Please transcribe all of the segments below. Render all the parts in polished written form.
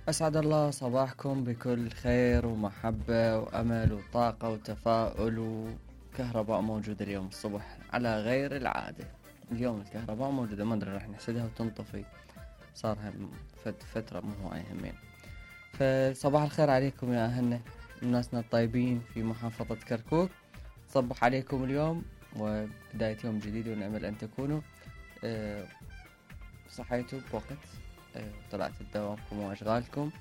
أسعد الله صباحكم بكل خير ومحبة وأمل وطاقة وتفاؤل وكهرباء موجودة اليوم الصبح على غير العادة. اليوم الكهرباء موجودة، ما أدري راح نحسدها وتنطفي، صارها فترة مو هواية همين. فصباح الخير عليكم يا أهلنا الناسنا الطيبين في محافظة كركوك. صبح عليكم اليوم وبداية يوم جديد، ونأمل أن تكونوا صحيتوا بوقت، طلعتوا دوامكم وأشغالكم،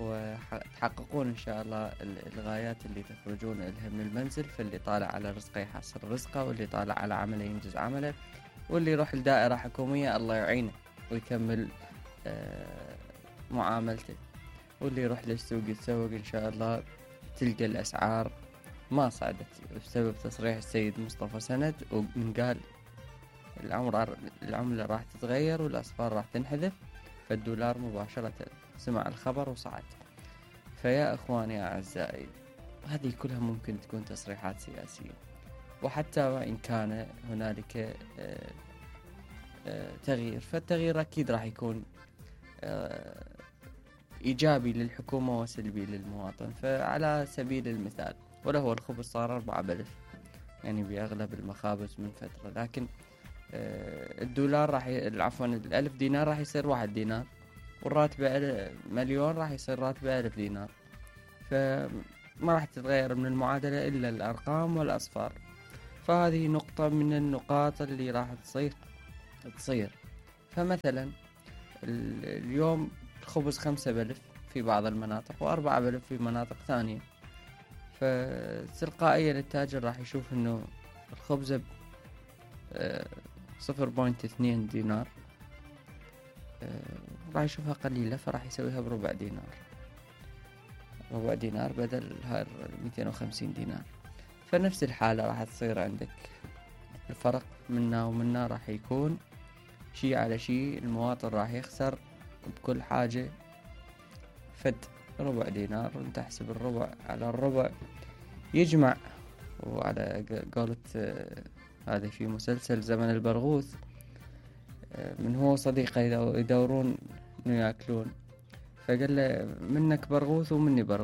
وتحققون إن شاء الله الغايات اللي تخرجون إلها من المنزل. فاللي طالع على رزقه يحصل رزقه، واللي طالع على عمله ينجز عمله، واللي يروح لدائرة حكومية الله يعينه ويكمل معاملته، واللي يروح للسوق يتسوق إن شاء الله. تلقى الأسعار ما صعدت بسبب تصريح السيد مصطفى سند، ومن قال العملة راح تتغير والأصفار راح تنحذف، فالدولار مباشرة سمع الخبر وصعد. فيا أخواني يا أعزائي، هذه كلها ممكن تكون تصريحات سياسية، وحتى وإن كان هنالك تغيير، فالتغيير أكيد راح يكون إيجابي للحكومة وسلبي للمواطن. فعلى سبيل المثال، وله الخبز صار 4 بلف يعني بأغلب المخابز من فترة، لكن الدولار راح عفوا 1000 دينار راح يصير 1 دينار، والراتب مليون راح يصير راتبه 1000 دينار. فما راح تتغير من المعادلة إلا الأرقام والأصفار. فهذه نقطة من النقاط اللي راح تصير. فمثلا اليوم الخبز 5 بلف في بعض المناطق، و4 بلف في مناطق ثانية، فتلقائيا التاجر راح يشوف انه الخبزة 0.2 دينار راح يشوفها قليلة، فراح يسويها بربع دينار، ربع دينار بدل هاي 250 دينار. فنفس الحالة راح تصير عندك، الفرق منا ومنا راح يكون شيء على شيء. المواطن راح يخسر بكل حاجة فد ربع دينار، وانت تحسب الربع على الربع يجمع. وعلى قولة هذا في مسلسل زمن البرغوث، من هو صديقه يدورون انه ياكلون، فقال له منك برغوث ومني برغوث.